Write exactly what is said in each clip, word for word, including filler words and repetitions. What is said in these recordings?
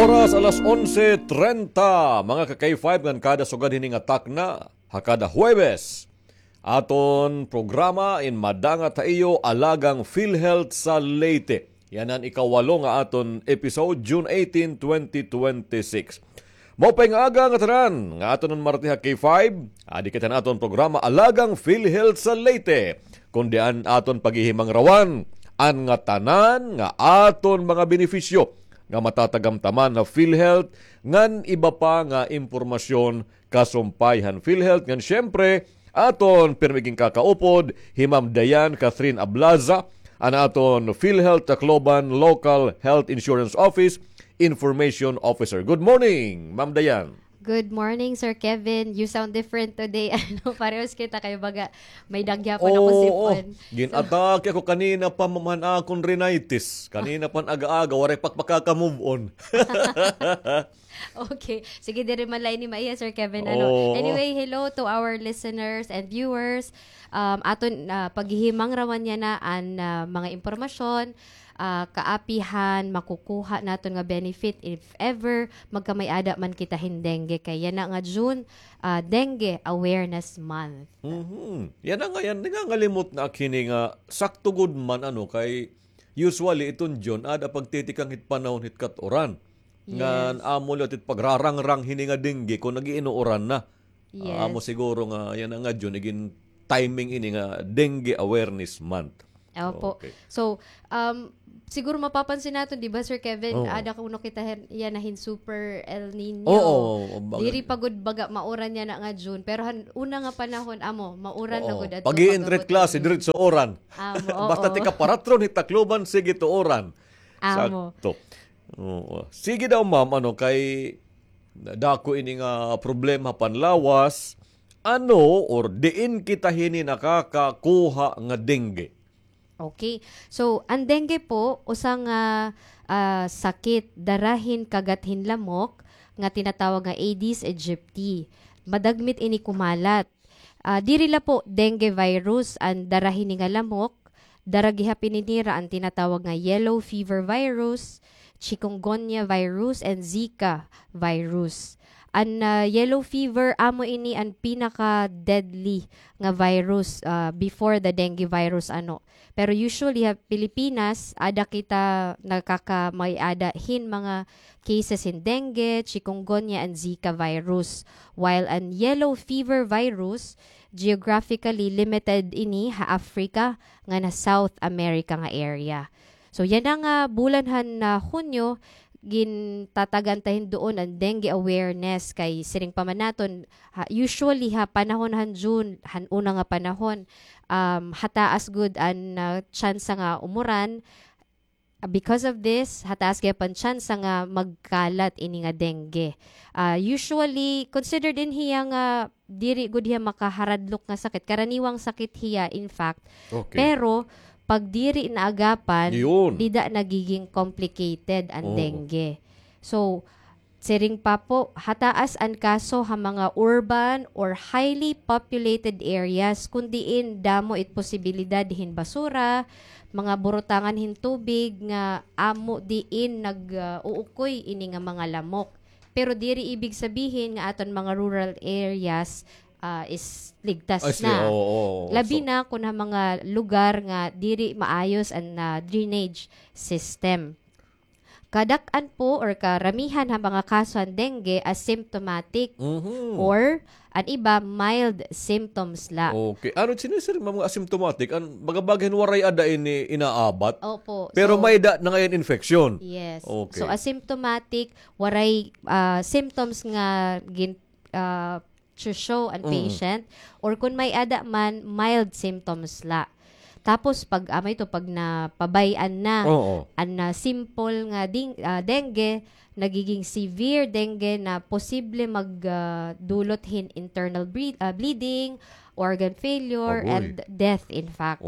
Oras alas onse trenta, mga ka-K five, ngan kada sugad hini nga takna, ha kada Huwebes, aton programa in Madangat ha Iyo, Alagang PhilHealth sa Leyte. Yana an ikawalo nga aton episode, June eighteen, twenty twenty-six. Maupay nga aga ngatanan nga aton marti ha K five. Adi kita han aton programa Alagang PhilHealth sa Leyte, kundi an aton paghihimangrawan an ngatanan nga aton mga benepisyo nga matatagamtaman ha PhilHealth ngan iba pa nga impormasyon kasumpay han PhilHealth. Ngan siyempre, aton pirmi ginkakaupod hi Ma'am Diane Catherine Ablaza, an aton PhilHealth Tacloban Local Health Insurance Office Information Officer. Good morning, Ma'am Diane. Good morning, Sir Kevin. You sound different today. Ano, parehas kita kay baga may dagya pa na ko sipon. Oo, gin-atake ako kanina pa, ma'am, han akon rhinitis. Kanina pa aga-aga, waray pa ak makaka-move on. Okay. Sige, diri man la ini maiha, Sir Kevin, ano. Oo. Anyway, hello to our listeners and viewers. Um, aton, ah, paghihimangrawan yana an, ah, mga impormasyon, ah, kaapihan, makukuha naton nga benefit if ever magkamay-ada man kita hin dengue. Kay yana nga June, ah, Dengue Awareness Month. Mhm. Yana nga, yana, nangangalimot na ak hini nga sakto gud man, ano, kay usually iton June, aada pagtitikang hit panahon hit kat-uran. Ngan amo liwat it pagrarangrang hini nga dengue kon nag-iinuuran na. Yes. Amo siguro nga yana nga June, igin-timing ini nga Dengue Awareness Month. Opo. Okay. So, um, siguro mapapansin naton, di ba, Sir Kevin, aada kuno kita yana hin Super El Niño. Oo, baga. Diri pa gud baga mauran yana nga June, pero han una nga panahon, amo, mauran na gud adto. Pag-i-entry klase, diretso uran. Amo, oo. Basta tika paratron hit Tacloban, sige to uran. Amo. Sakto. Oo. Sige daw, ma'am, ano, kay dako ini nga problema panlawas, ano or diin kita hini nakakakuha nga dengue? Okay. So, an dengue po, usa nga, ah, sakit dara hin kagat hin lamok nga tinatawag nga Aedes aegypti. Madagmit ini kumalat. Ah, diri la po dengue virus an dara hini nga lamok, dara gihap ini nira an tinatawag nga yellow fever virus, chikungunya virus, and Zika virus. An, ah, yellow fever, amo ini an pinaka-deadly nga virus, ah, before the dengue virus, ano. Pero usually ha Pilipinas, aada kita nakaka-may-ada hin mga cases hin dengue, chikungunya, and Zika virus. While an yellow fever virus, geographically limited ini ha Africa ngan ha South America nga area. So, yana nga bulan han, ah, Hunyo, gintatagan ta hin duon an dengue awareness kay siring pa man naton, ha, usually ha panahon han June, han una nga panahon, um, hataas gud an, ah, tsansa nga umuran. Ah, because of this, hataas gihap an tsansa nga magkalat ini nga dengue. Ah, usually, considered in hiya nga diri gud hiya makaharadlok nga sakit. Karaniwang sakit hiya, in fact. Okay. Pero, pag diri naagapan, dida nagiging complicated an dengue. So, siring pa po, hataas an kaso ha mga urban or highly populated areas, kun diin damo it posibilidad hin basura, mga burutangan hin tubig nga amo diin nag, ah, uukoy ini nga mga lamok. Pero diri ibig sabihin nga aton mga rural areas, ah, is ligtas na. Labi na kun ha mga lugar nga diri maayos an, ah, drainage system. Kadak-an po or karamihan ha mga kaso han dengue asymptomatic or an iba mild symptoms la. Okay. Ano it sinisiring, ma'am, nga asymptomatic? An baga-baga hin waray ada ini inaabat? Opo. Pero may-ada na ngay-an infection? Yes. Okay. So, asymptomatic, waray, ah, symptoms nga gin-, ah, to show an patient, or kun may-ada man, mild symptoms la. Tapos, pag, amo ito, pag napabay-an na an, ah, simple nga ding-, ah, dengue, nagiging severe dengue na posible mag, ah, dulot hin internal ble-, ah, bleeding, organ failure, and death, in fact.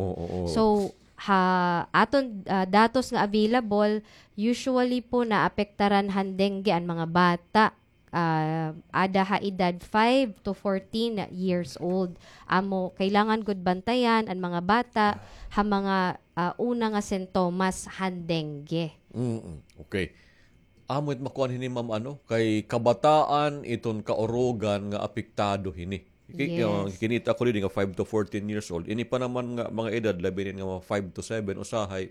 So, ha aton, ah, datos nga available, usually po naapektaran han dengue an mga bata. Ah, ada ha edad five to fourteen years old. Amo, kailangan gud bantayan an mga bata ha mga, ah, una nga sintomas han dengue. Mm, okay. Amo it makuan hini, ma'am, ano, kay kabataan iton kaurugan nga apektado hini. Ki-, Yes. uh, kinita ko didi nga five to fourteen years old. Ini pa naman nga mga edad, labi na nga mga five to seven, usahay,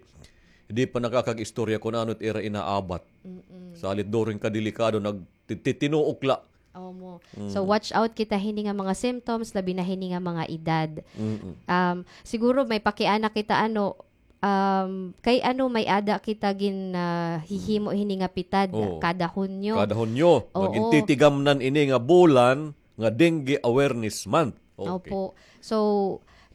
di pa nakakag-istorya kun ano it ira inaabat. Mm-mm. Salit during kadelikado, nagtitinuok la. Omo. Mm. So, watch out kita hini nga mga symptoms, labi na hini nga mga edad. Mm-mm. Um, siguro may pakiana kita, ano, um, kay ano may-ada kita gin, ah, hihimo hini nga pitad Oo. kada Hunyo. Kada Hunyo, Oo. magintitigamnan ini nga bulan nga Dengue Awareness Month. Okay. Opo. So,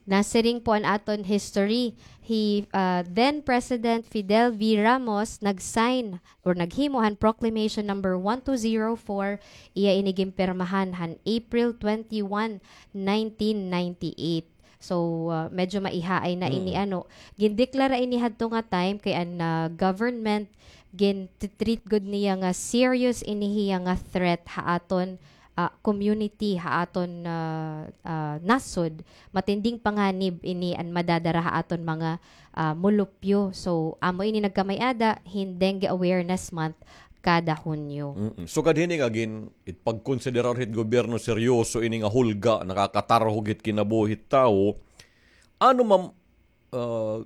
nasiring po an aton history. Hi, ah, then President Fidel V. Ramos nag-sign or naghimo han Proclamation Number one two zero four, iya ini ginpirmahan han April twenty-one, nineteen ninety-eight. So, ah, medyo maihaay na ini, Mm. ano, gindeklara ini hadto nga time kay an, ah, government gin-treat gud niya nga serious ini hiya nga threat ha aton, ah, community, ha aton, ah, ah, nasod. Matinding panganib ini an madadara ha aton mga, ah, mulupyo. So, amo ini nagkamay-ada hin Dengue Awareness Month kada Hunyo. Mm-mm. Sugad hini nga gin-, it pagkonsiderar hit gobyerno seryoso ini nga hulga, nakakatarhog hit kinabuhi hit tawo. Ano, ma'am, ah,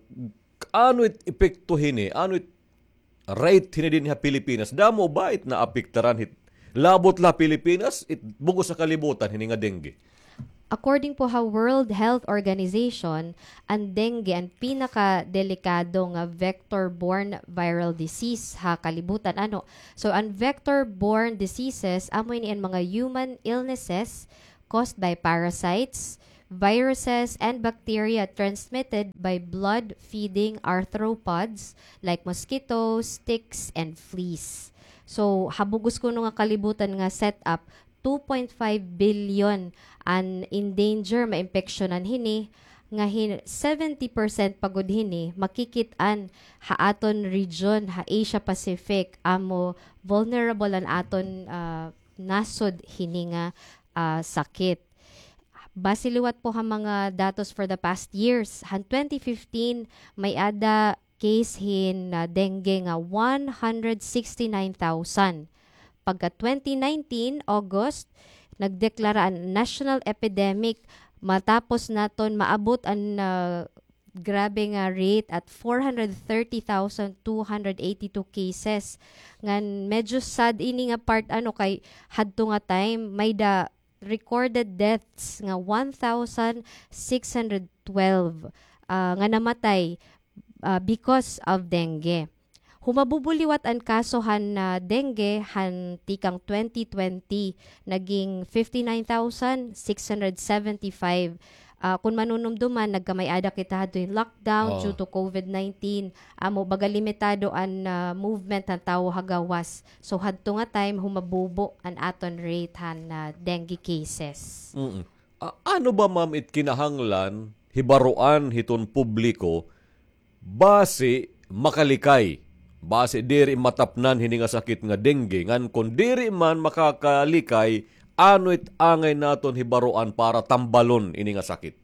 ano it epekto hini? Ano it rate hini dinhi ha Pilipinas? Damo ba it naapektaran hit labot la Pilipinas, it bug-os ha kalibutan hini nga dengue? According po ha World Health Organization, an dengue an pinakadelikado nga vector-borne viral disease ha kalibutan, ano. So, an vector-borne diseases, amo ini an mga human illnesses caused by parasites, viruses, and bacteria transmitted by blood-feeding arthropods like mosquitoes, ticks, and fleas. So, ha bug-os kuno nga kalibutan nga setup, two point five billion an in danger maimpeksyonan hini, nga hin-, seventy percent pa gud hini makikit-an ha aton region, ha Asia Pacific, amo vulnerable an aton, ah, nasod hini nga, ah, sakit. Base liwat po ha mga datos for the past years, han twenty fifteen, may-ada case hin, ah, dengue nga one hundred sixty-nine thousand. Pagka twenty nineteen, August, nagdeklara an national epidemic matapos naton maabot an, ah, grabe nga rate at four hundred thirty thousand two hundred eighty-two cases. Ngan medyo sad ini nga part, ano, kay hadto nga time, may-ada recorded deaths nga one thousand six hundred twelve, ah, nga namatay, ah, because of dengue. Humabubo liwat an kaso han, ah, dengue han tikang twenty twenty, naging fifty-nine thousand six hundred seventy-five. Ah, kun manunumduman, nagkamay-ada kita hadto hin lockdown Oo. due to COVID nineteen. Amo, baga limitado an, ah, movement han tawo ha gawas. So, hadto nga time, humabubo an aton rate han, ah, dengue cases. Mm. A-, ano ba, ma'am, it kinahanglan hibaroan hiton publiko basi makalikay, basi diri matapnan hini nga sakit nga dengue, ngan kon diri man makakalikay, ano it angay naton hibaroan para tambalon ini nga sakit?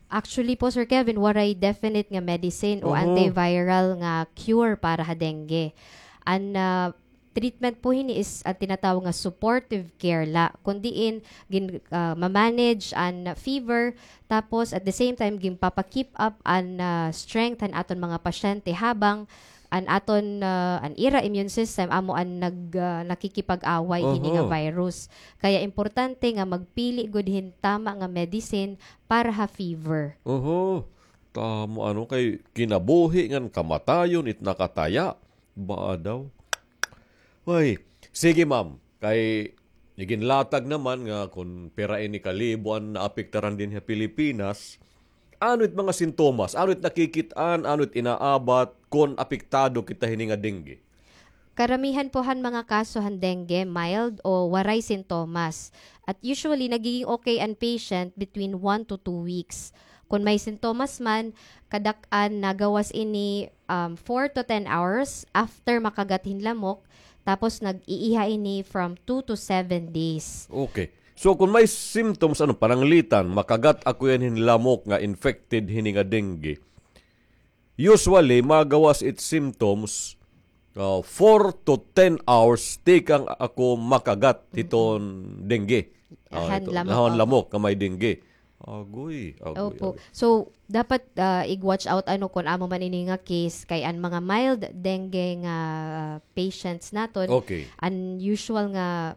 Actually po, Sir Kevin, waray definite nga medicine o Mhm. antiviral nga cure para ha dengue. An, ah, treatment po hini is an tinatawag nga supportive care la. Kun diin, gin-, ah, ma-manage an fever, tapos at the same time, ginpapa-keep up an, ah, strength han aton mga pasyente habang an aton, ah, an ira immune system amo an nag-, ah, nakikipag-away hini nga Aha. virus. Kaya importante nga magpili gud hin tama nga medicine para ha fever. Oho. Tamo, ano, kay kinabuhi ngan kamatayon it nakataya. Baa daw? Ay, sige, ma'am. Kay iginlatag naman nga kun pira ini kalibo an naapektaran dinhi ha Pilipinas, ano it mga sintomas? Ano it nakikit-an? Ano it inaabat kun apektado kita hini nga dengue? Karamihan po han mga kaso han dengue, mild o waray sintomas. At usually, nagiging okay an patient between one to two weeks. Kun may sintomas man, kadak-an nagawas ini, um, four to ten hours after makagat hin lamok, tapos nag-iiha ini from two to seven days. Okay. So, kun may symptoms, ano, pananglitan, makagat ako yan hin lamok nga infected hini nga dengue. Usually, magawas it symptoms, ah, four to ten hours, tikang ako makagat hiton dengue. Ah, han ito, lamok, han opo, lamok nga may dengue. Agoy, agoy, opo, agoy. So, dapat, ah, ig-watch out, ano, kon amo man ini nga case, kay an mga mild dengue nga patients naton, okay, an usual nga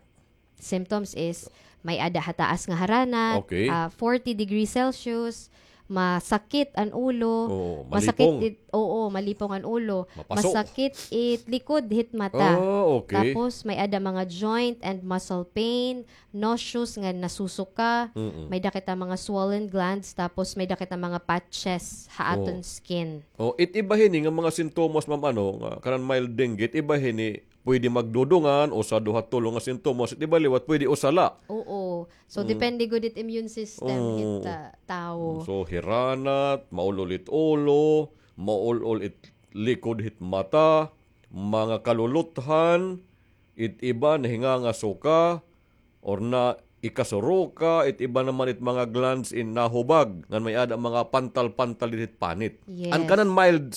symptoms is may-ada hataas nga haranat, okay, ah, forty degrees Celsius, masakit an ulo, oo, masakit malipong it, oo, malipong an ulo, mapasok, masakit it likod hit mata. Oh, okay. Tapos may-ada mga joint and muscle pain, nauseous nga nasusuka, mm-mm, may-ada kita mga swollen glands, tapos may-ada kita mga patches ha aton skin. Oh, it iba hini nga mga sintomas, ma'am, ano, nga kanan mild dengue, it iba hini pwede magdudungan, usa, duha, tulo nga sintomas, it iba liwat pwede usa la. Oo. So, mm, depende gud it immune system, oo, hit, ah, tawo. So, hiranat, maul-ol it ulo, maul-ol it likod hit mata, mga kaluluthan, it iba nahingangasuka, or na ikasuroka, it iba naman it mga glands in nahubag, ngan may-ada mga pantal-pantal didto hit panit. Yes. An kanan mild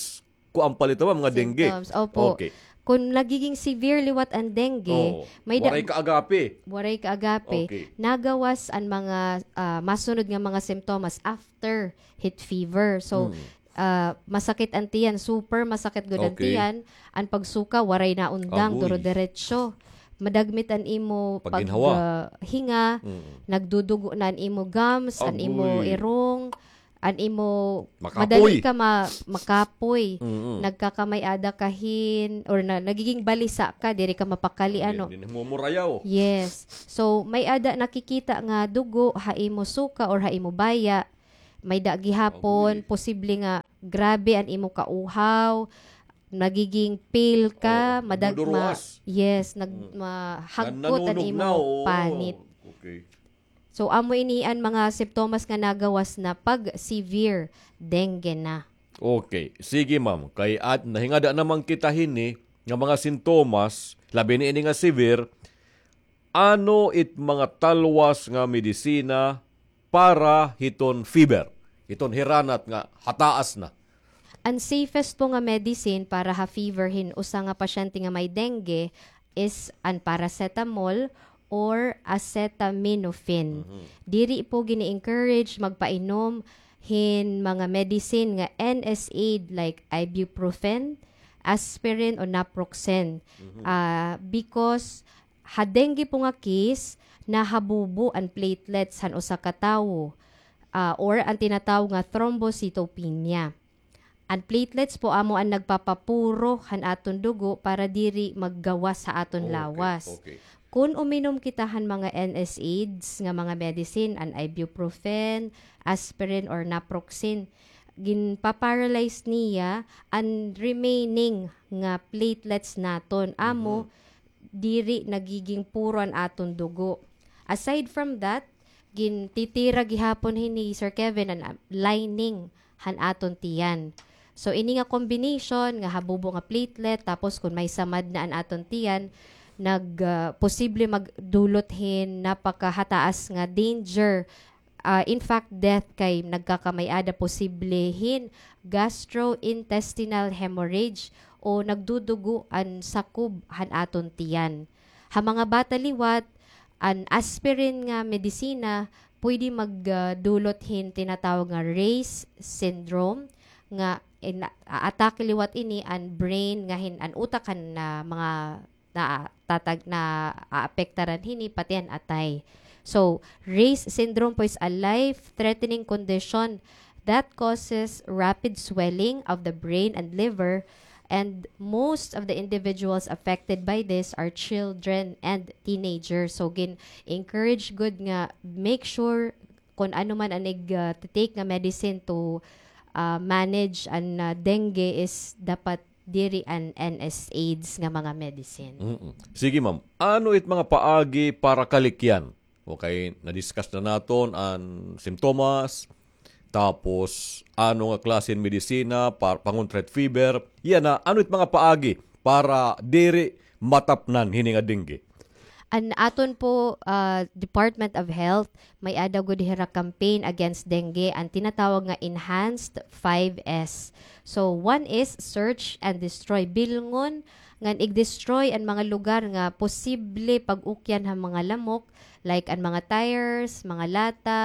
kuan pa la ito, ma'am, nga dengue. Symptoms, opo. Okay. Kon nagiging severe liwat an dengue, oo, may da-, waray kaagapi. Waray kaagapi. Okay. Nagawas an mga, ah, masunod nga mga simptomas after hit fever. So, mm, ah, masakit an tiyan, super masakit gud an, okay, tiyan, an pagsuka, waray na undang, agoy, duro-diretso. Madagmit an imo pag-, pagginhawa, ah, hinga, mm, nagdudugo na an imo gums, an imo, agoy, irong, an imo, makapoy, madali ka ma-, makapoy. Mm-mm. Nagkakamay-ada ka hin, or na, nagiging balisa ka, diri ka mapakali, ano. Din, din, mumurayaw. Yes. So, may-ada nakikita nga dugo ha imo suka or ha imo baya. May-ada gihapon, agoy, posible nga grabe an imo kauhaw, nagiging pale ka, oo, madag-, ma-, maduruas, yes, nag-, mm, mahagkot an imo panit. Nan-, nanunugnaw, oo. Okay. So, amo ini an mga simptomas nga nagawas na pag severe dengue na. Okay. Sige, ma'am. Kay at nahingada naman kita hini nga mga sintomas, labi na ini nga severe, ano it mga talwas nga medisina para hiton fever, hiton hiranat nga hataas na? An safest po nga medicine para ha fever hin usa nga pasyente nga may dengue is an paracetamol or acetaminophen. Mhm. Diri po gini-encourage magpainom hin mga medicine nga N SAID like ibuprofen, aspirin o naproxen. Mhm. Ah, because ha dengue po nga case, nahabubo an platelets han usa ka tawo, ah, or an tinatawag nga thrombocytopenia. An platelets po amo an nagpapapuro han aton dugo para diri maggawas ha aton lawas. Okay, okay. Kon uminom kita han mga N SAIDs nga mga medicine, an ibuprofen, aspirin, or naproxen, ginpa-paralyze niya an remaining nga platelets naton. Amo, mhm, diri nagiging puro an aton dugo. Aside from that, gintitira gihapon hini, Sir Kevin, an, ah, lining han aton tiyan. So, ini nga combination nga habubo nga platelet, tapos kon may samad na an aton tiyan, nag, ah, posible magdulot hin napakahataas nga danger. Ah, in fact, death kay nagkakamay-ada posible hin gastrointestinal hemorrhage o nagdudugo an sakob han aton tiyan. Ha mga bata liwat, an aspirin nga medisina pwede mag, ah, dulot hin tinatawag nga Ray's syndrome nga in-, a-, atake liwat ini an brain nga hin-, an utak han, ah, mga na-, tatag-, naaapektaran hini, pati an atay. So, Ray's syndrome po is a life-threatening condition that causes rapid swelling of the brain and liver, and most of the individuals affected by this are children and teenagers. So, gin-encourage gud nga make sure kon ano man an ig, ah, ti-take nga medicine to, ah, manage an, ah, dengue is dapat diri an N SAIDs nga mga medicine. Mm-mm. Sige, ma'am. Ano it mga paagi para kalikyan? Okay, na-discuss na naton an simptomas, tapos ano nga klase hin medisina par-, pangontra hit fever. Yana, ano it mga paagi para diri matapnan hini nga dengue? An aton po, ah, Department of Health, may-ada gud hira campaign against dengue, an tinatawag nga Enhanced five S. So, one is search and destroy. Bilngon ngan ig-destroy an mga lugar nga posible pag-ukyan han mga lamok, like an mga tires, mga lata,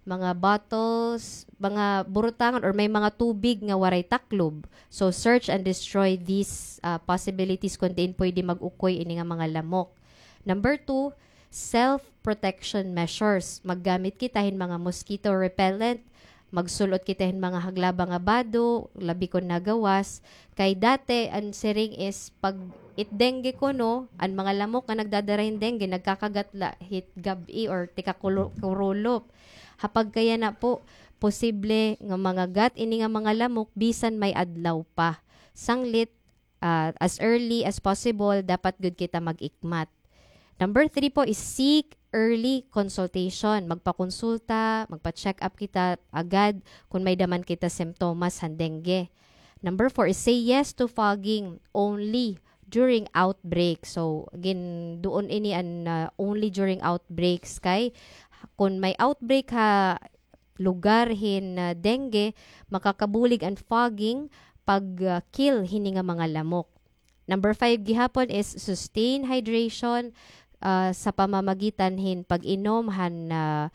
mga bottles, mga burutangan, or may mga tubig nga waray taklob. So, search and destroy these, ah, possibilities kon diin pwede mag-ukoy ini nga mga lamok. Number two, self-protection measures. Maggamit kita hin mga mosquito repellent, magsul-ot kita hin mga haglaba nga bado, labi kon nagawas. Kay dati, an siring is pag it dengue kuno, an mga lamok nga nagdadara hin dengue, nagkakagat la hit gab-i or tikang kulo-, kurulop. Ha pagkayana po, posible nga mangagat ini nga mga lamok bisan may adlaw pa. Sanglit, ah, as early as possible, dapat gud kita mag-ikmat. Number three po is seek early consultation. Magpakonsulta, magpa-check up kita agad kon may-ada man kita simptomas han dengue. Number four is say yes to fogging only during outbreak. So, again, duon ini an, ah, only during outbreaks kay kon may outbreak ha lugar hin, ah, dengue, makakabulig an fogging pag, ah, kill hini nga mga lamok. Number five gihapon is sustain hydration, ah, sa pamamagitan hin pag-inom han, ah,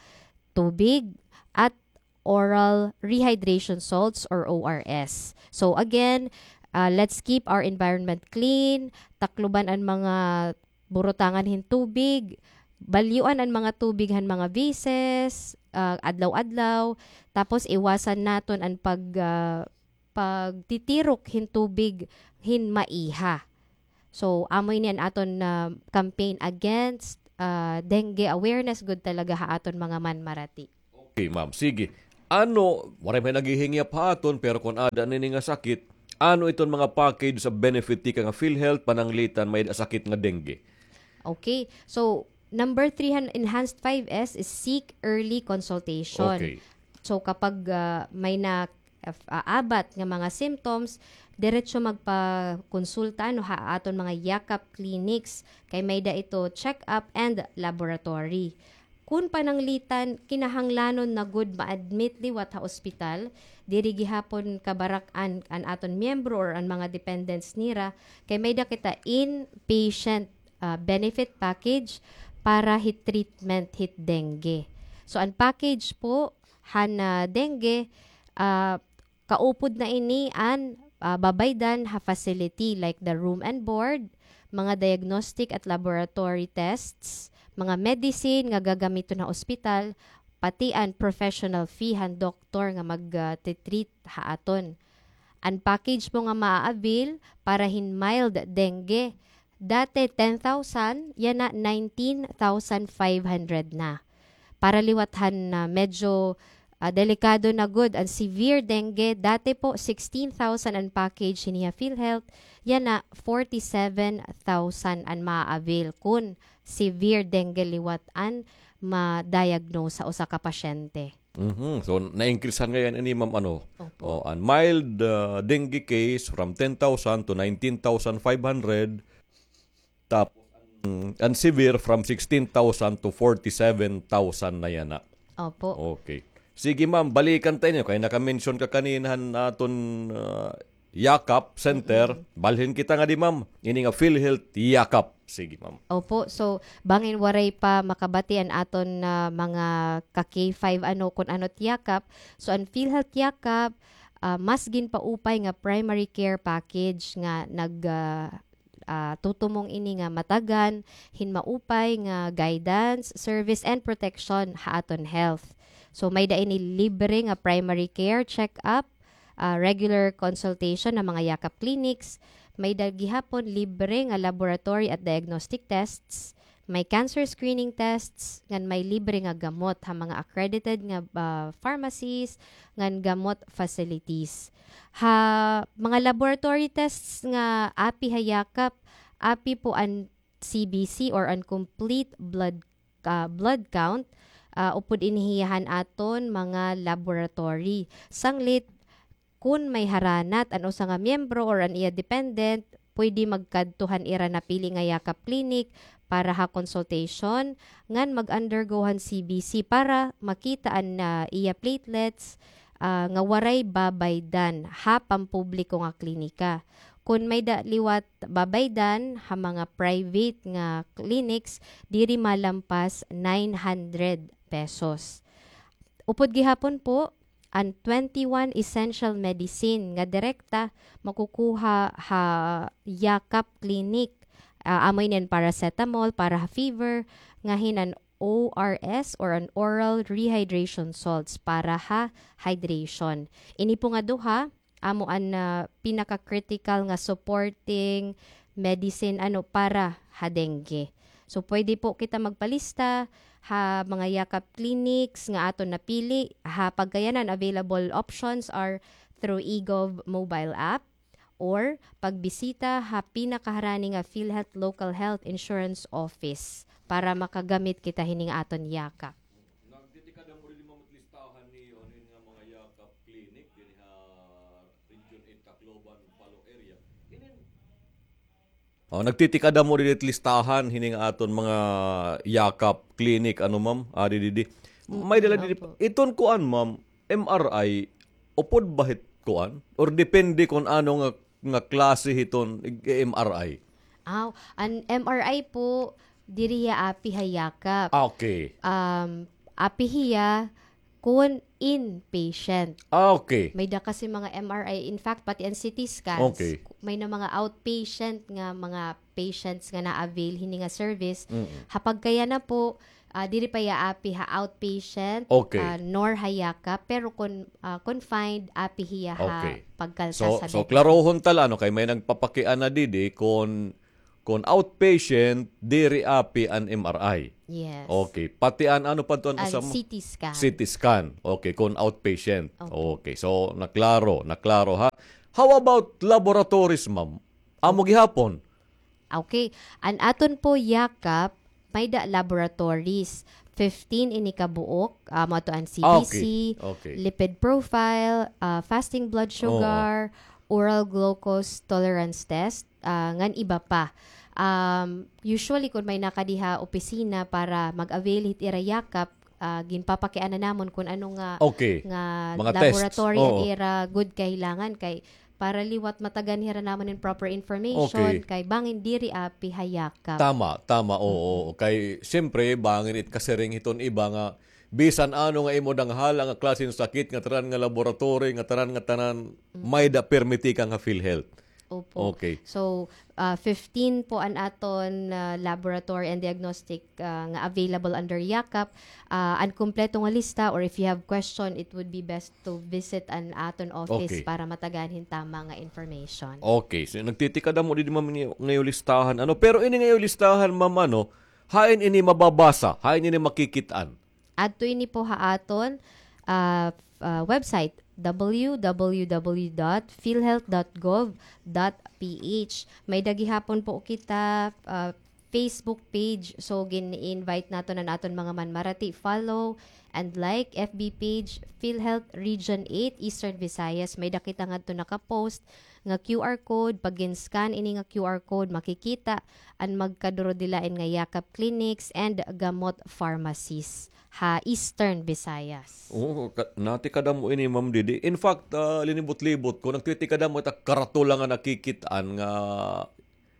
tubig at oral rehydration salts or O R S. So again, ah, let's keep our environment clean, takloban an mga burutangan hin tubig, balyuan an mga tubig han mga vices, ah, adlaw-adlaw, tapos iwasan naton an pag, ah, pagtitirok hin tubig hin maiha. So, amo ini an aton, ah, campaign against, ah, dengue awareness gud talaga ha aton mga manmarati. Okay, ma'am. Sige. Ano, waray may naghihingyap ha aton, pero kon aada nini nga sakit, ano iton mga package sa benefit tikang ha PhilHealth pananglitan may sakit nga dengue? Okay. So, number three han enhanced five S is seek early consultation. Okay. So, kapag, ah, may na, ah, abat nga mga symptoms, diretso magpakonsulta, ano, ha aton mga Yakap clinics, kay may-ada ito check-up and laboratory. Kun pananglitan, kinahanglanon na gud ma-admit liwat ha ospital, diri gihapon kabarak-an an aton miyembro or an mga dependents nira, kay may-ada kita inpatient, ah, benefit package para hit treatment hit dengue. So, an package po, han, ah, dengue, ah, kaupod na ini an, ah, babaydan ha facility like the room and board, mga diagnostic at laboratory tests, mga medicine nga gagamiton ha ospital, pati an professional fee han doktor nga mag, ah, titreat ha aton. An package po nga maa-avail para hin mild dengue, dati ten thousand, yana nineteen thousand five hundred na. Para liwat han, ah, medyo, ah, delikado na gud an severe dengue, dati po sixteen thousand an package hini ha PhilHealth, yana forty-seven thousand an maa-avail kun severe dengue liwat an ma-diagnose sa usa ka pasyente. Mhm. So, na-increase-han ngay-an ini, ma'am, ano? Opo. Oh, an mild, ah, dengue case from ten thousand to nineteen thousand five hundred. Tapos, an, an severe from sixteen thousand to forty-seven thousand na yana. Opo. Okay. Sige, ma'am, balikan ta niyo kay naka-mention ka kanina han aton, ah, Yakap Center. Mm-mm. Balhin kita ngadi, ma'am. Ini nga PhilHealth Yakap. Sige, ma'am. Opo. So, bangin waray pa makabati an aton, ah, mga ka-K five ano kun ano it Yakap. So, an PhilHealth Yakap, ah, mas ginpaupay nga primary care package nga nag, ah, ah, tutumong ini nga matagan hin maupay nga guidance, service, and protection ha aton health. So, may-ada ini libre nga primary care check-up, ah, regular consultation ha mga Yakap clinics, may-ada gihapon libre nga laboratory at diagnostic tests, may cancer screening tests, ngan may libre nga gamot ha mga accredited nga, ah, pharmacies, ngan gamot facilities. Ha mga laboratory tests nga api ha Yakap, api po an C B C or an complete blood, ah, blood count, ah, upod ini hiya han aton mga laboratory. Sanglit, kun may haranat an usa nga miyembro or an iya dependent, pwede magkadto han ira napili nga Yakap Clinic para ha consultation, ngan mag-undergo han C B C para makita an, ah, iya platelets, ah, nga waray babaydan ha pampubliko nga klinika. Kon may-ada liwat babaydan ha mga private nga clinics, diri malampas nine hundred pesos. Upod gihapon po, an twenty-one essential medicine nga direkta makukuha ha Yakap Clinic. Ah, amo ini an paracetamol para ha fever, ngahin an O R S or an oral rehydration salts para ha hydration. Ini po nga duha, amo an, ah, pinaka-critical nga supporting medicine, ano, para ha dengue. So, pwede po kita magpalista ha mga Yakap clinics nga aton napili. Ha pagkayanan, available options are through eGov mobile app or pagbisita ha pinakaharani nga PhilHealth Local Health Insurance Office para makagamit kita hini nga aton Yakap. Nagtitikada mo diri, ma'am, it listahan ni, ano, nga mga Yakap clinic dinhi ha Region eight Tacloban, Palo area. Inin Oh, nagtitikada mo diri it listahan hini nga aton mga Yakap clinic, ano, ma'am? Adi didi. Mm, may dala didi. Opo. Iton kuan, ma'am, M R I, upod ba hit kuan? Or depende kon ano nga, nga klase hiton ig-, M R I? Aw, an M R I po, diri hiya api ha Yakap. Ah, okay. Um, api hiya kon inpatient. Ah, okay. May-ada kasi mga M R I, in fact, pati an C T scans, okay, may-ada mga outpatient nga mga patients nga na-avail hini nga service. Mm-mm. Ha pagkayana po, ah, diri pa hiya api ha outpatient, okay, ah, nor ha Yakap, pero kon, ah, confined, api hiya ha, okay, pagkalta, so, sa so, Bicol. Klarohon ta la, ano, kay may nagpapakiana didi kon kon outpatient, diri api an M R I. Yes. Okay. Pati an ano pa to an usa mo? C T scan. C T scan. Okay, kon outpatient. Okay. Okay. So, naklaro, naklaro ha. How about laboratories, ma'am? Amo gihapon? Okay. An aton po Yakap, may-ada laboratories. Fifteen ini ka buok, ah, amo ato an C B C, ah, okay, okay, lipid profile, ah, fasting blood sugar, oo, oral glucose tolerance test, ah, ngan iba pa. Um, usually, kon may-ada ka diha opisina para mag-avail hit ira Yakap, ah, ginpapakiana namon kon ano nga, okay, nga mga tests, laboratory an, oo, ira gud kahilangan kay para liwat matagan hira namon hin proper information, okay, kay bangin diri api ha Yakap. Tama, tama, oo, mm-mm, oo. Kay, siyempre, bangin it kasiring hiton iba nga bisan ano nga imo danghala nga klase hin sakit, nga tanan nga laboratory, nga tanan nga tanan, mm, may-ada permiti ka nga PhilHealth. Opo. Okay. So, ah, fifteen po an aton, ah, laboratory and diagnostic, ah, nga available under Yakap. Ah, an kumpleto nga lista, or if you have question, it would be best to visit an aton office, okay, para matagan hin tama nga information. Okay. So, nagtitikada mo didi, ma'am, ini nga iyo listahan. Ano? Pero ini nga iyo listahan, ma'am, ano, hain ini mababasa? Hain ini makikit-an? Adto ini po ha aton, ah, f-, ah, website, W W W dot philhealth dot gov dot P H. May-ada gihapon po kita, ah, Facebook page. So, gin-invite naton an aton mga manmarati. Follow and like F B page, PhilHealth Region eight, Eastern Visayas. May-ada kita ngadto naka-post nga Q R code. Pag gin-scan ini nga Q R code, makikita an magkaduro-dilain nga Yakap clinics and gamot pharmacies ha Eastern Visayas. Oo, ka-, natikada mo ini, ma'am, didi. In fact, ah, linibot-libot ko, nagtitikada mo ita karatula nga nakikit-an nga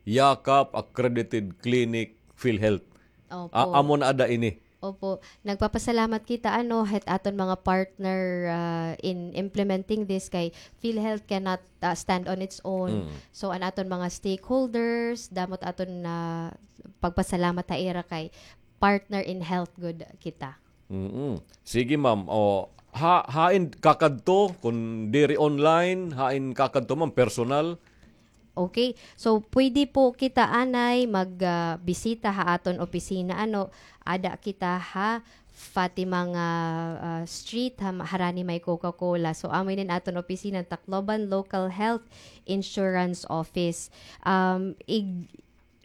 Yakap Accredited Clinic PhilHealth. Opo. A-, amo na ada ini. Opo. Nagpapasalamat kita, ano, het aton mga partner, ah, in implementing this kay PhilHealth cannot, ah, stand on its own. Mm. So, an aton mga stakeholders, damo it aton, ah, pagpasalamat ha ira kay partner in health gud kita. Mm-mm. Sige, ma'am. O, ha-, hain kakadto, kon diri online, hain kakadto, ma'am, personal? Okay. So, pwede po kita anay mag, ah, bisita ha aton opisina, ano, ada kita ha Fatima nga, ah, Street, ha, harani may Coca-Cola. So, amo ini an aton opisina, Tacloban Local Health Insurance Office. Um, ig-,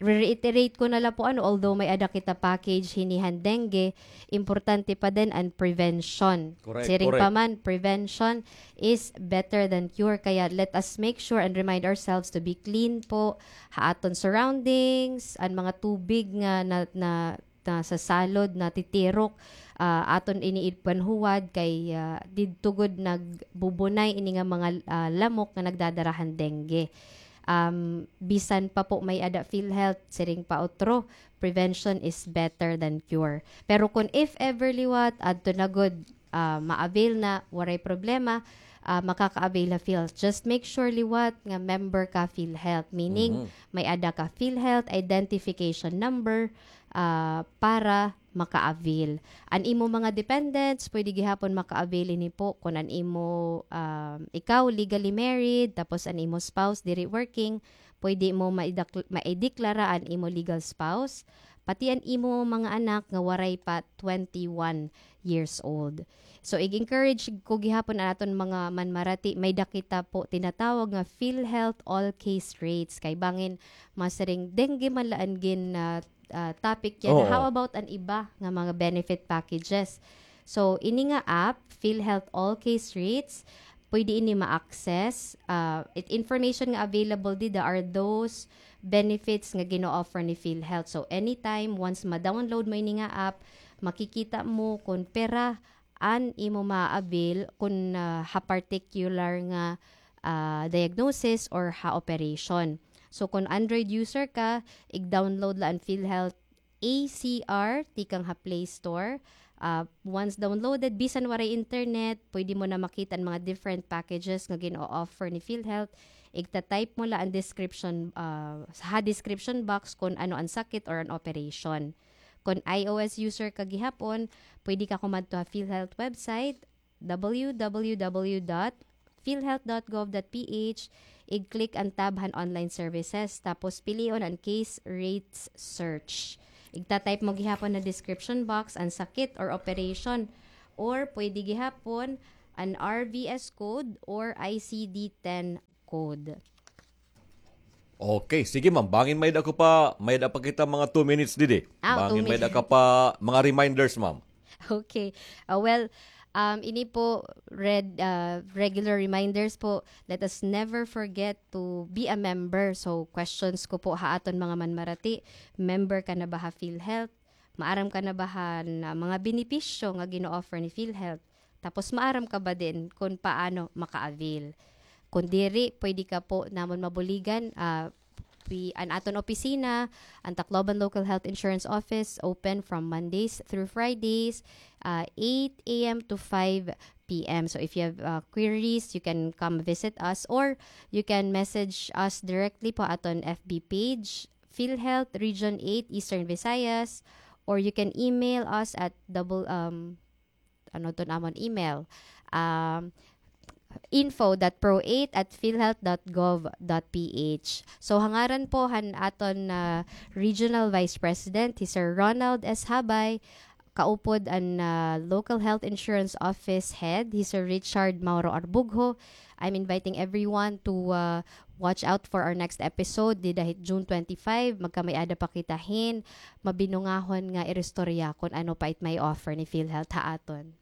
Re-reiterate ko na la po, ano, although may-ada kita package hini han dengue, importante pa din an prevention. Correct, correct. Siring pa man, prevention is better than cure. Kaya let us make sure and remind ourselves to be clean po ha aton surroundings, an mga tubig nga na, na, nasasalod, natitirok, ah, aton ini ipanhuwad kay, ah, didto gud nagbubunay ini nga mga, ah, lamok nga nagdadara han dengue. um, bisan pa po may-ada PhilHealth, siring pa utro, prevention is better than cure. Pero kun if ever liwat, adto na gud, ah, ma-avail na, waray problema, ah, makaka-avail ha PhilHealth. Just make sure liwat nga member ka PhilHealth. Meaning, may-ada ka PhilHealth identification number, ah, para maka-avail. An imo mga dependents, pwede gihapon maka-avail ini po kun an imo, ah, ikaw legally married, tapos an imo spouse diri working, pwede mo maidak-, maideklara an imo legal spouse, pati an imo mga anak nga waray pa twenty-one years old. So, ig-encourage ko gihapon an aton mga manmarati, may-ada kita po tinatawag nga PhilHealth all case rates. Kay bangin masiring dengue man la an gin, ah, ah, topic yana. Oo. How about an iba nga mga benefit packages? So, ini nga app, PhilHealth All Case Rates, pwede ini ma-access. Ah, it information nga available dida are those benefits nga gino-offer ni PhilHealth. So, anytime, once ma-download mo ini nga app, makikita mo kun pira an imo ma-avail kun, ah, ha particular nga, ah, diagnosis or ha operation. So, kun Android user ka, ig-download la an PhilHealth A C R tikang ha Play Store. Ah, once downloaded, bisan waray internet, pwede mo na makita an mga different packages nga gino-offer ni PhilHealth. Igta-type mo la an description, ah, ha description box kun ano an sakit or an operation. Kun I O S user ka gihapon, pwede ka kumadto ha PhilHealth website, W W W dot philhealth dot gov dot P H, ig-click an tab han online services, tapos pilion an case rates search. Igta-type mo gihapon ha description box an sakit or operation, or pwede gihapon an R V S code or I C D ten code. Okay, sige, ma'am. Bangin may-ada ko pa, may-ada pa kita mga two minutes didi. Ah, two minutes. Bangin may-ada ka pa mga reminders, ma'am. Okay. Ah, well, um, ini po, red, ah, regular reminders po, let us never forget to be a member. So, questions ko po ha aton mga manmarati, member ka na ba ha PhilHealth? Maaram ka na ba han, ah, mga benepisyo nga gino-offer ni PhilHealth? Tapos maaram ka ba din kun paano maka-avail? Kun diri, pwede ka po namon mabuligan, ah, pi-, an aton opisina, an Tacloban Local Health Insurance Office, open from Mondays through Fridays, ah, eight A M to five P M. So if you have, ah, queries, you can come visit us or you can message us directly po aton F B page, PhilHealth Region eight Eastern Visayas, or you can email us at double, um, ano ton amon email? Um, info dot pro eight at philhealth dot gov dot P H. So, ha ngaran po han aton, ah, Regional Vice President, hi Sir Ronald S. Habay, kaupod an, ah, Local Health Insurance Office Head, hi Sir Richard Mauro Arbugho, I'm inviting everyone to, ah, watch out for our next episode. Dida hit June twenty-five, magkamay-ada pa kita hin mabinungahon nga iristorya kun ano pa it may offer ni PhilHealth ha aton.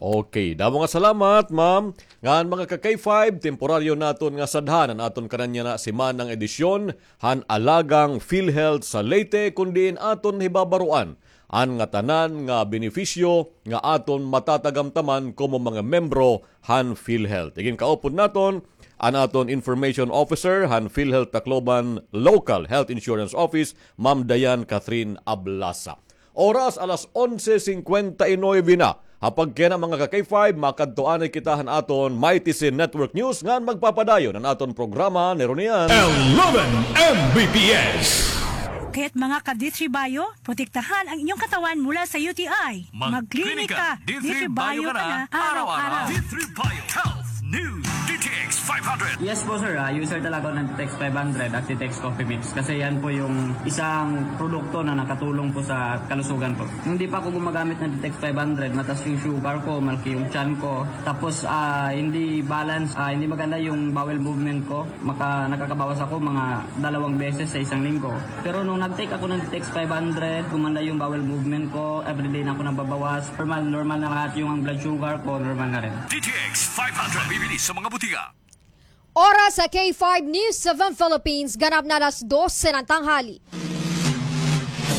Okay, damo nga salamat, ma'am. Ngan mga ka-K five, temporaryo naton nga sadhan an aton kanan yana simanang edisyon han Alagang PhilHealth sa Leyte, kun diin aton hibabaroan an ngatanan nga benepisyo nga aton matatagamtaman komo mga membro han PhilHealth. Iginkaupod naton an aton Information Officer han PhilHealth Tacloban Local Health Insurance Office, Ma'am Diane Catherine Ablasa. Oras alas onse singkwenta y nuebe na. Ha pagkayana, mga ka-K five, makadto anay kita han aton Mighty Sin Network News ngan magpapadayon an aton programa ni Ronian. Eleven M B P S. Kaya't mga ka-D three Bio, protektahan ang inyong katawan mula sa U T I. Magklinika, D three Bio ka na araw-araw. D three Bio Health News, D T X five hundred. Yes po, sir. Ah, user talaga ako ng D T X five hundred at D T X Coffee Mix kasi yan po yung isang produkto na nakatulong po sa kalusugan ko. Nung di pa ako gumagamit ng D T X five hundred, mataas yung sugar ko, malaki yung tiyan ko. Tapos, ah, hindi balance, ah, hindi maganda yung bowel movement ko. Maka-, nakakabawas ako mga dalawang beses sa isang linggo. Pero nung nag-take ako ng D T X five hundred, gumanda yung bowel movement ko, everyday na ako nababawas. Normal, normal na lahat yung ang blood sugar ko, normal na rin. D T X five hundred, mabibili sa mga butika. Oras sa K five News seven Philippines, ganap na alas dose ng tanghali.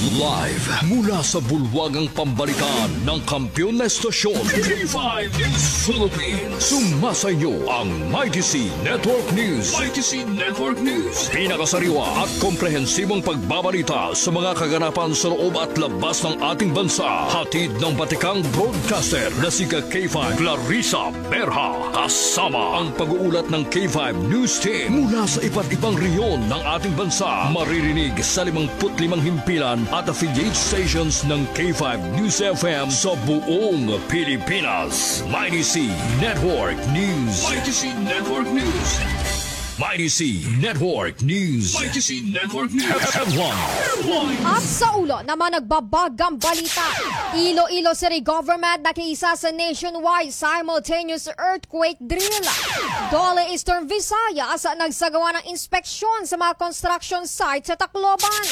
Live mula sa bulwagang pambalitaan ng kampiyon na estasyon, K five News Philippines. Sumasa inyo ang Mighty C Network News. Mighty C Network News. Pinakasariwa at komprehensibong pagbabalita sa mga kaganapan sa loob at labas ng ating bansa. Hatid ng batikang broadcaster na si ka K five Clarissa Berha. Kasama ang pag-uulat ng K five News Team mula sa iba't ibang rehiyon ng ating bansa. Maririnig sa limangput limang himpilan at affiliate stations ng K five News F M sa buong Pilipinas. Mighty C Network News. Mighty C Network News. Mighty C Network News. Mighty C Network News. Headline. At sa ulo naman, nagbabagang balita. Iloilo City Government nakiisa sa nationwide simultaneous earthquake drill. DOLE Eastern Visayas nagsagawa ng inspeksyon sa mga construction site sa Tacloban.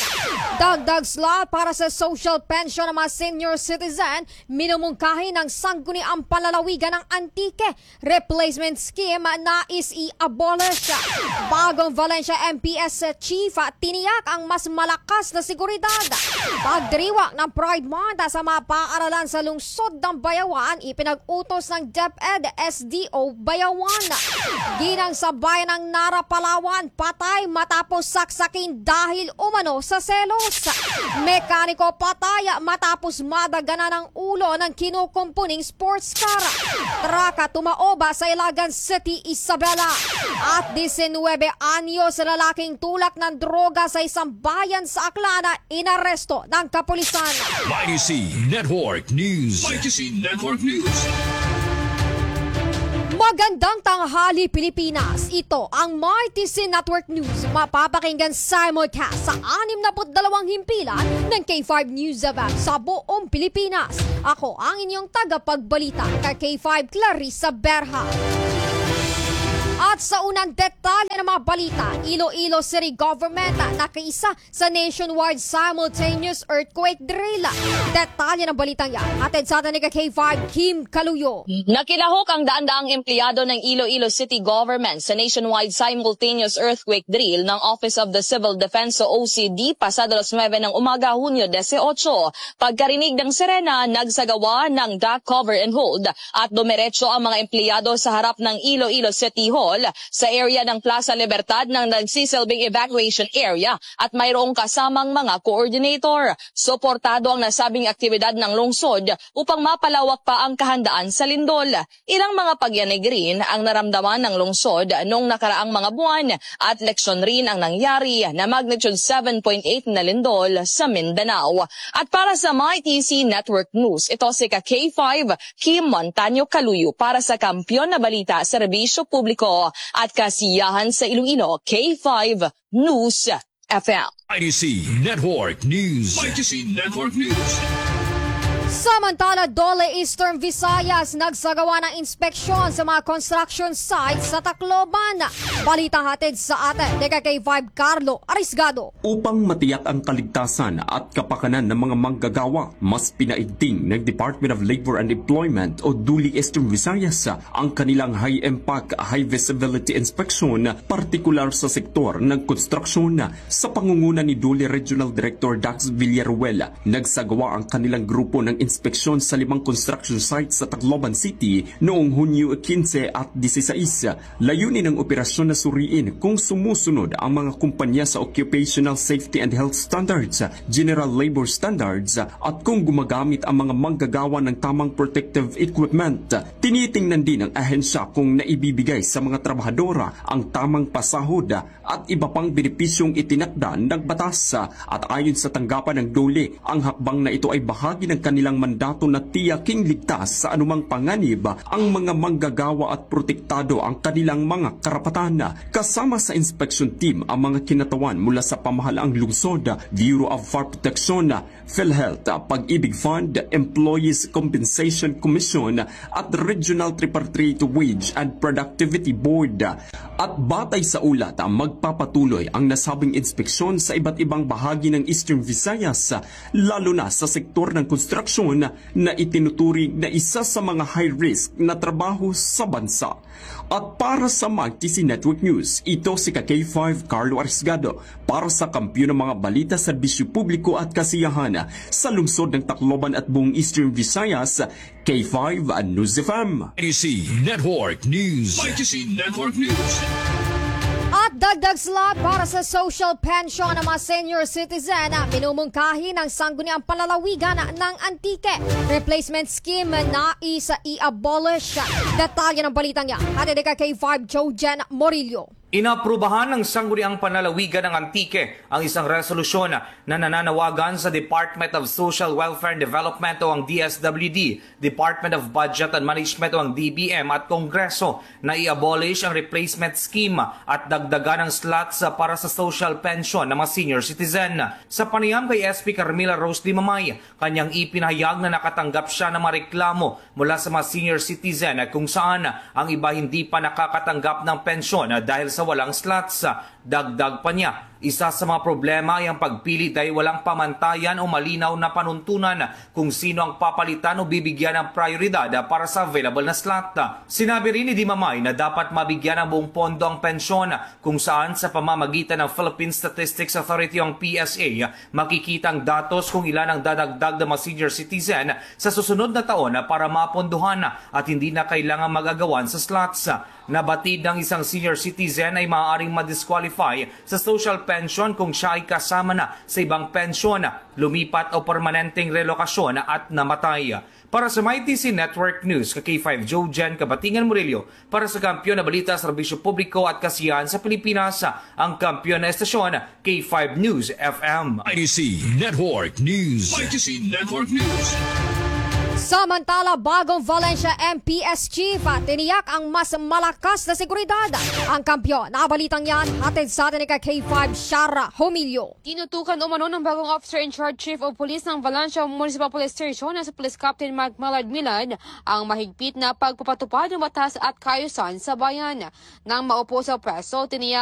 Dagdag slot para sa social pension ng mga senior citizen, minumungkahi ng Sangguniang Panlalawigan ng Antique. Replacement scheme nais i-abolish. Bagong Valencia M P S chief, tiniyak ang mas malakas na seguridad. Pagdiriwang ng Pride Month sa mga paaralan sa lungsod ng Bayawan, ipinag-utos ng DepEd S D O Bayawan. Ginang sa bayan ng Nara, Palawan, patay matapos saksakin dahil umano sa selos. Mekaniko patay matapos madaganan ng ulo ng kinukumpuning sports car. Truck tumaob sa Ilagan City, Isabela. At disinwebe anyos na lalaking tulak ng droga sa isang bayan sa Aklan, inaresto ng kapulisan. Mighty C Network News. Mighty C Network News. Magandang tanghali, Pilipinas. Ito ang Mighty C Network News. Mapapakinggan simulcast sa anim na put dalawang himpilan ng K five News F M sa buong Pilipinas. Ako ang inyong tagapagbalita, ka K five Clarissa Berha. At sa unang detalye ng mga balita, Iloilo City Government nakiisa sa nationwide simultaneous earthquake drill. Detalye ng balitang yan, hatid sa atin ni ka K five Kim Kaluyo. Nakilahok ang daan-daang empleyado ng Iloilo City Government sa nationwide simultaneous earthquake drill ng Office of the Civil Defense o O C D pasado alas nuwebe ng umaga, Hunyo disiotso. Pagkarinig ng sirena, nagsagawa ng duck cover and hold at dumiretso ang mga empleyado sa harap ng Iloilo City Hall sa area ng Plaza Libertad na nagsisilbing evacuation area at mayroong kasamang mga coordinator. Suportado ang nasabing aktibidad ng lungsod upang mapalawak pa ang kahandaan sa lindol. Ilang mga pagyanig rin ang naramdaman ng lungsod noong nakaraang mga buwan at leksyon rin ang nangyari na magnitude seven point eight na lindol sa Mindanao. At para sa Mighty C Network News, ito si ka K five Kim Montaño Kaluyo para sa Kampiyon na Balita, Serbisyo Publiko at Kasiyahan sa Iloilo, K five News F M. Mighty C Network News. Mighty C Network News. Samantala, DOLE Eastern Visayas nagsagawa ng inspeksyon sa mga construction sites sa Tacloban. Balita hatid sa atin ni ka K five Carlo Arisgado. Upang matiyak ang kaligtasan at kapakanan ng mga manggagawa, mas pinaigting ng Department of Labor and Employment o DOLE Eastern Visayas ang kanilang high-impact, high-visibility inspection, partikular sa sektor ng konstruksyon. Sa pangunguna ni DOLE Regional Director Dax Villaruel, nagsagawa ang kanilang grupo ng inspeksyon sa limang construction site sa Tacloban City noong Hunyo kinse at disisais. Layunin ng operasyon na suriin kung sumusunod ang mga kumpanya sa Occupational Safety and Health Standards, General Labor Standards, at kung gumagamit ang mga manggagawa ng tamang protective equipment. Tinitingnan din ng ahensya kung naibibigay sa mga trabahadora ang tamang pasahod at iba pang benepisyong itinakda ng batas. At ayon sa tanggapan ng DOLE, ang hakbang na ito ay bahagi ng kanilang mandato na tiyaking ligtas sa anumang panganib ang mga manggagawa at protektado ang kanilang mga karapatan. Kasama sa inspection team ang mga kinatawan mula sa pamahalaang lungsod, Bureau of Fire Protection, PhilHealth, Pag-ibig Fund, Employees Compensation Commission, at Regional Tripartite Wage and Productivity Board. At batay sa ulat, magpapatuloy ang nasabing inspeksyon sa iba't ibang bahagi ng Eastern Visayas, lalo na sa sektor ng konstruksyon na itinuturing na isa sa mga high risk na trabaho sa bansa. At para sa Mighty C Network News, ito si ka K five Carlo Arisgado para sa Kampiyon ng mga Balita, Serbisyo Publiko at Kasiyahan sa lungsod ng Tacloban at buong Eastern Visayas, K five News F M. I T C Network News. I T C Network News. At dagdag slot para sa social pension ng mga senior citizen, minumungkahi ng Sangguniang Panlalawigan ng Antique. Replacement scheme na isa i-abolish. Detalye ng balitang yan, hatid ni ka K five Joe Jen Morillo. Inaprubahan ng Sangguniang Panlalawigan ng Antique ang isang resolusyon na nananawagan sa Department of Social Welfare and Development o ang D S W D, Department of Budget and Management o ang D B M at Kongreso na i-abolish ang replacement scheme at dagdagan ang slots para sa social pension ng mga senior citizen. Sa panayam kay S P Carmela Rose Dimamay, kanyang ipinahayag na nakatanggap siya ng mga reklamo mula sa mga senior citizen kung saan ang iba hindi pa nakakatanggap ng pensyon dahil sa walang slots. Dagdag pa niya, isa sa mga problema ay ang pagpili dahil walang pamantayan o malinaw na panuntunan kung sino ang papalitan o bibigyan ng prioridad para sa available na slot. Sinabi rin ni Dimamay na dapat mabigyan ng buong pondo ang pensyon kung saan sa pamamagitan ng Philippine Statistics Authority o ang P S A, makikita ang datos kung ilan ang dadagdag ng mga senior citizen sa susunod na taon para mapondohan at hindi na kailangan mag-agawan sa slots. Nabatid ng isang senior citizen ay maaaring ma-disqualify sa social pension kung siya ay kasama na sa ibang pensyon, lumipat o permanenteng relokasyon at namatay. Para sa Mighty C Network News, ka K five Joe Jen Kabatingan Murillo, para sa Kampiyon na Balita, Serbisyo Publiko at Kasiyahan sa Pilipinas, ang kampiyon na estasyon, K five News F M. I T C Network News. I T C Network News. Samantala, Bagong Valencia M P S Chief, tiniyak ang mas malakas na seguridad. Ang kampiyon na balitang yan, hatid sa atin ni ka K five Shara Humilio. Tinutukan umano ng bagong Officer in Charge, Chief of Police ng Valencia Municipal Police Station na si Police Captain Mike Millard Millard ang mahigpit na pagpapatupad ng batas at kaayusan sa bayan. Nang maupo sa pwesto, tiniyak